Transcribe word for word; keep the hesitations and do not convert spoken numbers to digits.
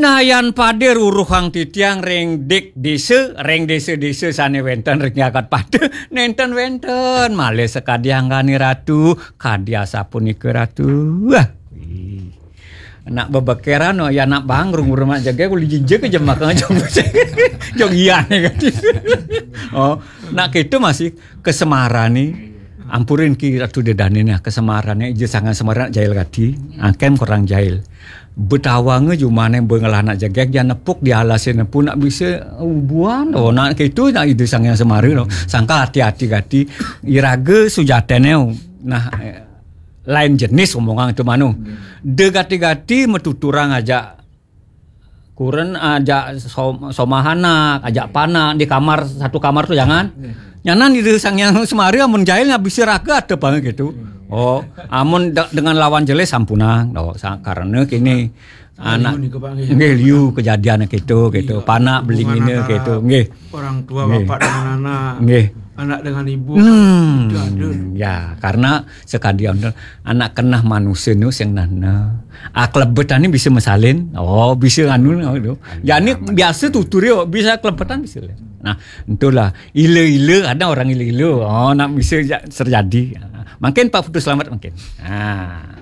Tayan pada ruruhang titiang ring dik desa, ring desa-desa sane wenten ring jagat pada, nenten wenten. Malih sakadi anggane ratu, kadi asapunika ratu. Wah. Ih. Nak bebekeran, oh, ya nak bang, rung rumah jaga, kuli jinjek aja makan jong. Jong iya nih kan. Oh, nak itu masih kesemarané. Ampurin ki Ratu Dedane nih, kesemarané ija sangan semara nak jail gati. Angkem kurang jail. Betawanga jumane bengelah nak jegeg, ja nepuk di alasé nepu nak bisa ubuan. Oh, nak itu nak ida sangan semara, no. Sangka hati-hati gati. Iraga sujatene, nah, eh, lain jenis omongan itu manu. De gati-gati matuturang aja kuren aja som-, somah anak, aja panak di kamar, satu kamar tuh jangan. Nyanan di Sang Hyang Semara amun jail nggak bisa raga ada banget gitu. Oh, amun de-, dengan lawan jelas sampunang. Oh, sa-, karena kini anak liu nih, Pak, nggih. Nggih, liu kejadian gitu, gitu. Iya, panak hubungan belingine antara gitu, nggih. Orang tua, nggih, bapak dengan anak, nggih, anak dengan ibu. Hmm. Itu ada. Ya, karena sekadian anak kenah manusia nu sing nah, nah. Ah, kelebetane bisa mesalin. Oh, bisa anu, anu. Ya, ini biasa tutur ya, bisa kelebetan bisa. Nah, itulah ila-ila, ada orang ila-ila. Oh, nak bisa ja-, terjadi. Mungkin Pak Putu selamat mungkin. Ah.